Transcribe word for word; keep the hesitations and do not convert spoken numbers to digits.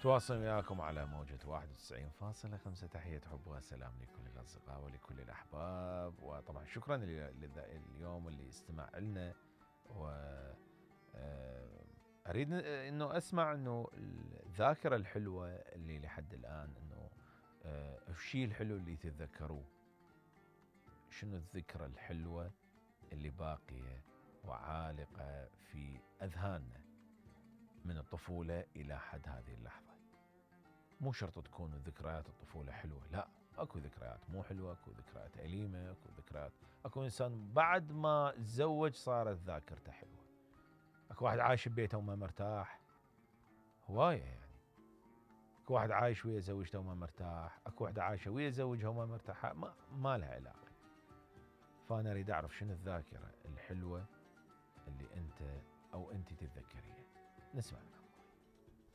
تواصل وياكم على موجة واحد وتسعين فاصلة خمسة. تحية حب وسلام لكل الأصدقاء ولكل الأحباب، وطبعا شكرا اليوم اللي استمع لنا. و أريد أنه أسمع أنه الذاكرة الحلوة اللي لحد الآن أنه الشيء الحلو اللي تتذكروه، شنو الذكرى الحلوة اللي باقية وعالقة في أذهاننا من الطفولة إلى حد هذه اللحظة. مو شرط تكون ذكريات الطفولة حلوة، لا، أكو ذكريات مو حلوة، أكو ذكريات أليمة، أكو ذكريات، أكو إنسان بعد ما تزوج صارت ذاكرته حلوة، أكو واحد عايش ببيته وما مرتاح، هواية يعني. أكو واحد عايش ويا زوجته وما مرتاح، أكو واحدة عايشة ويا زوجها وما مرتاحة، ما, ما لها علاقة. فأنا أريد أعرف شنو الذاكرة الحلوة اللي أنت أو أنت تتذكريها. نسمع.